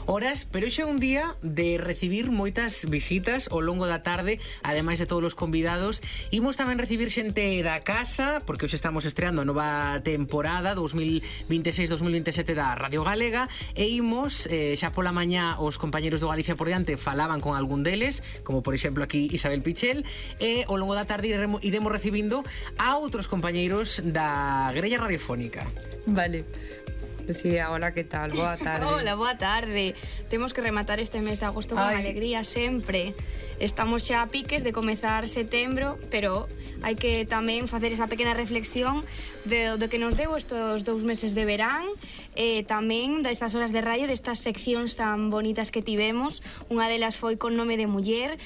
horas, pero hoxe é un día de recibir moitas visitas ao longo da tarde, ademais de todos os convidados. Imos tamén recibir xente da casa, porque hoxe estamos estreando a nova temporada 2026-2027 da Radio Galega, e imos, xa pola mañá os compañeros do Galicia por diante falaban con algún deles, como por exemplo aquí Isabel Pichel, e ao longo da tarde iremos recibindo a outros compañeiros da grella radiofónica. Vale. Lucía, hola, que tal? Boa tarde. Hola, boa tarde. Temos que rematar este mes de agosto con alegría sempre. Estamos xa a piques de comezar setembro, pero hai que tamén facer esa pequena reflexión do que nos deu estos 2 meses de verán, tamén destas horas de radio, destas seccións tan bonitas que tivemos. Unha delas foi con nome de muller,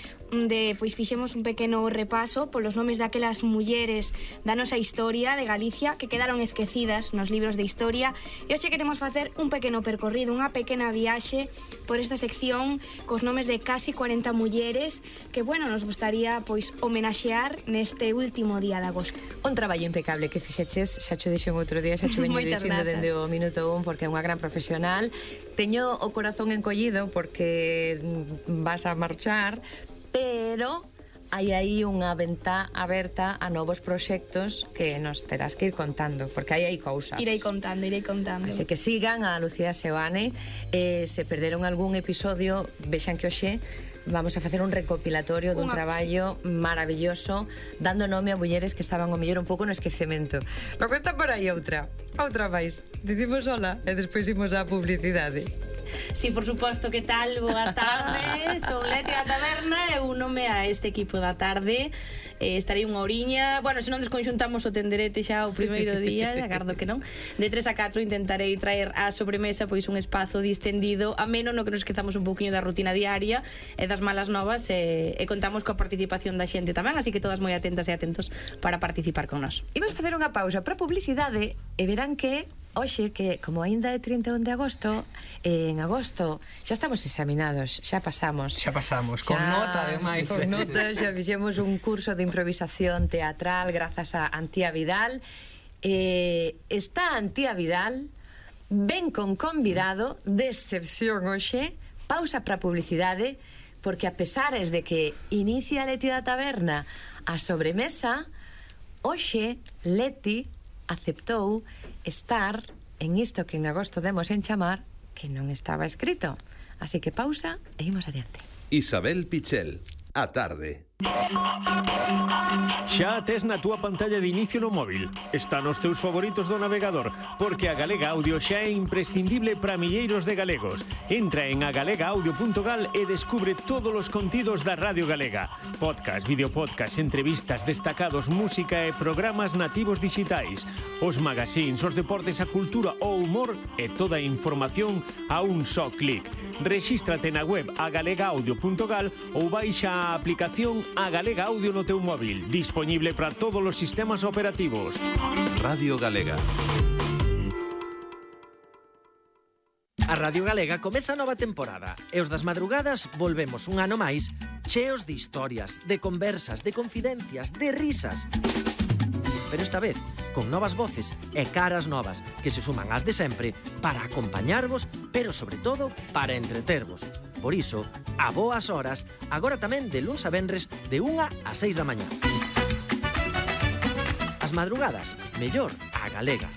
pois fixemos un pequeno repaso polos nomes daquelas mulleres da nosa historia de Galicia que quedaron esquecidas nos libros de historia, e hoxe queremos facer un pequeno percorrido, unha pequena viaxe por esta sección cos nomes de casi 40 mulleres que, bueno, nos gustaría pois homenaxear neste último día de agosto. Un traballo impecable que fixeches, xa cho dixen outro día, xa cho veño dicindo dende o minuto 1, porque é unha gran profesional. Teño o corazón encollido porque vas a marchar, pero hai aí unha ventá aberta a novos proxectos que nos terás que ir contando, porque hai cousas. Irei contando. Así que sigan a Lucía Seoane, se perderon algún episodio, vexan que hoxe vamos a facer un recopilatorio dun traballo maravilloso, dando nome a mulleres que estaban o mellor un pouco no esquecemento. Logo está por aí outra máis. Dicimos hola e despois imos á publicidade. Sí, por suposto, que tal? Boa tarde, son Leti da Taberna e únome a este equipo da tarde. Estarei unha horiña, bueno, se non desconxuntamos o tenderete xa o primeiro día, agardo que non. De 3 a 4 intentarei traer á sobremesa pois un espazo distendido, ameno no que nos esquezamos un pouquiño da rutina diaria e das malas novas, e contamos coa participación da xente tamén, así que todas moi atentas e atentos para participar con nós. Imos facer unha pausa para publicidade e verán que hoxe, que como aínda é 31 de agosto, en agosto xa estamos examinados, xa pasamos, con nota ademais. Con nota, xa fixemos un curso de improvisación teatral grazas a Antía Vidal. Está Antía Vidal, ven con convidado de excepción hoxe. Pausa para publicidade, porque a pesares de que inicia Leti da Taberna a sobremesa, hoxe Leti aceptou estar en isto que en agosto demos en chamar que non estaba escrito. Así que pausa e imos adiante. Isabel Pichel, a tarde. Xa a tes na túa pantalla de inicio no móvil. Está nos teus favoritos do navegador, porque a Galega Audio xa é imprescindible para milleiros de galegos. Entra en agalegaudio.gal e descubre todos os contidos da Radio Galega. Podcast, videopodcast, entrevistas, destacados, música e programas nativos digitais. Os magazines, os deportes, a cultura, o humor e toda a información a un só clic. Rexístrate na web agalegaudio.gal ou baixa a aplicación a Galega Audio no teu móvil, disponible para todos os sistemas operativos. Radio Galega. A Radio Galega comeza a nova temporada e os das madrugadas volvemos un ano máis cheos de historias, de conversas, de confidencias, de risas. Pero esta vez con novas voces e caras novas que se suman ás de sempre para acompañarvos, pero sobre todo para entretervos. Por iso, a boas horas, agora tamén de luns a venres de 1 a 6 da mañá. As madrugadas, mellor a galega.